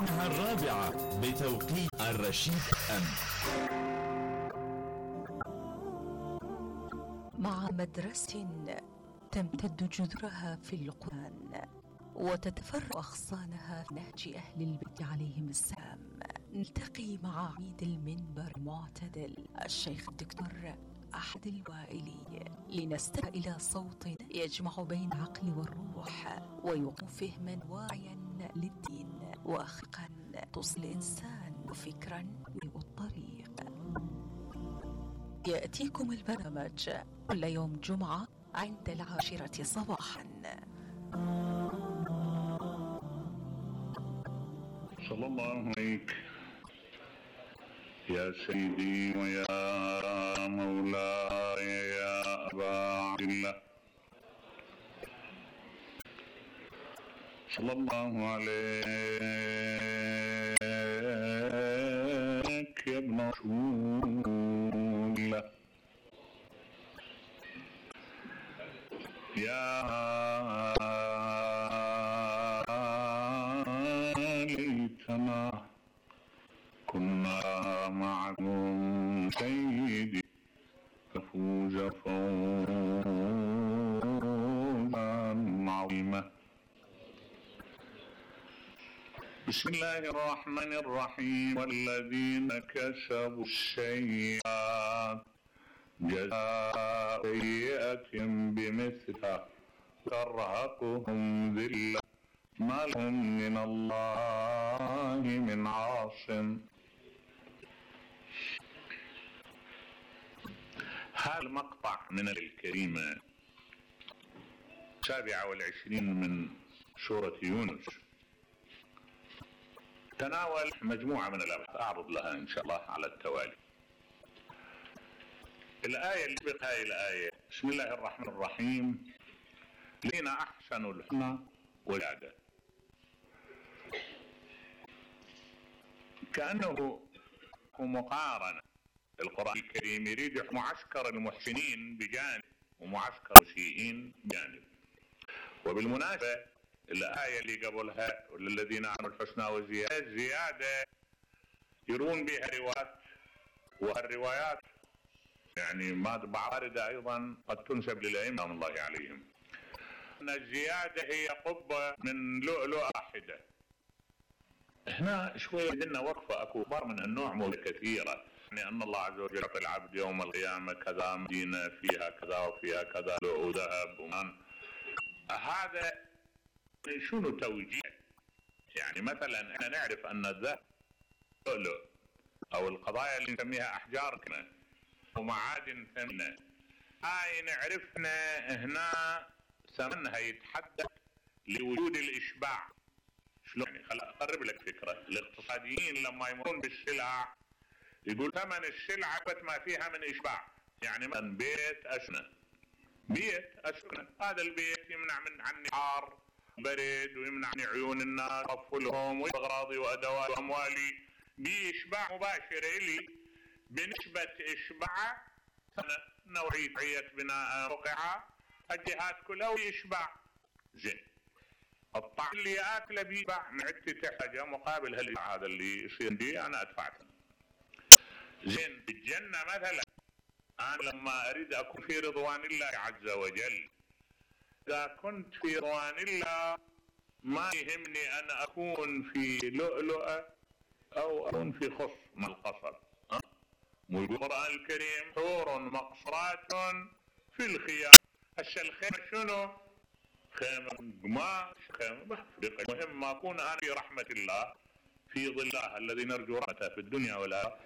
إنها الرابعة بتوقيت الرشيد أم. مع مدرسة تمتد جذرها في القرآن وتتفرع أغصانها في نهج أهل البيت عليهم السلام، نلتقي مع عميد المنبر المعتدل الشيخ الدكتور أحد الوائلي لنستمع إلى صوت يجمع بين العقل والروح ويقوم فهما واعيا للدين وأخلاقا توصل الإنسان وفكرا والطريق. يأتيكم البرنامج كل يوم جمعة عند 10 صباحا. صلى الله عليك يا سيدي ويا مولاي يا أبا عبد الله، صلى الله عليك يا ابن رسول الله، يا ليتنا كنا معكم سيدي ففوز فوزا عظيما. بسم الله الرحمن الرحيم. والذين كسبوا السيئات جزاء سيئة بمثلها ترهقهم ذلة ما لهم من الله من عاصم. هذا المقطع من الكريمة 27 من سورة يونس تناول مجموعة من الأبحاث أعرض لها إن شاء الله على التوالي. الآية اللي سبق هاي الآية بسم الله الرحمن الرحيم الذين أحسنوا الحسنى وزيادة، كأنه مقارنة. القرآن الكريم يريد معسكر المحسنين بجانب ومعسكر المسيئين بجانب. وبالمناسبة الآية اللي قبلها والذين عملوا الحسنى والزيادة زيادة يرون بها روايات، والروايات يعني ما باردة أيضا قد تنسب للأئمة رحمة الله عليهم. أن الزيادة هي قبة من لؤلؤة واحدة. هنا شوية لنا وقفة، أكو أخبار من النوع موجودة كثيرة، يعني أن الله عز وجل يعطي العبد يوم القيامة كذا مدينة فيها كذا وفيها كذا وذهب ومان. هذا شنو توجيه؟ يعني مثلا احنا نعرف أن الذهب لؤلؤ أو القضايا اللي نسميها أحجار كنا ومعادن ثمينة، هاي نعرفنا هنا ثمنها يتحدد لوجود الإشباع. شلون يعني؟ خل أقرب لك فكرة. الاقتصاديين لما يمرون بالسلع يقول ثمن السلعة ما فيها من إشباع. يعني مثلا بيت أسكنه، هذا البيت يمنع من عني حار برد ويمنع عن عيون الناس وأطفالهم وأغراضي وأدوات وأموالي بإشباع مباشر إلي بنسبة إشباع نوعية بناء وقعة الجهات كلها ويشبع. زين الطعام اللي أكله بيشبع معدتي تحتاجه مقابل هالإشباع هذا اللي يصير دي أنا أدفعه. زين بالجنة مثلا أنا لما أريد أكون في رضوان الله عز وجل، إذا كنت في رضوان الله ما يهمني أن أكون في لؤلؤة أو أكون في خص مع القصر. والقرآن الكريم حور مقصرات في الخيام. هسه الخيمة شنو؟ خيمة قماش، خيمة بحفظ. المهم ما أكون أنا في رحمة الله في ظل الله الذي نرجو رحمته في الدنيا والآخرة.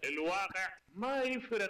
الواقع ما يفرق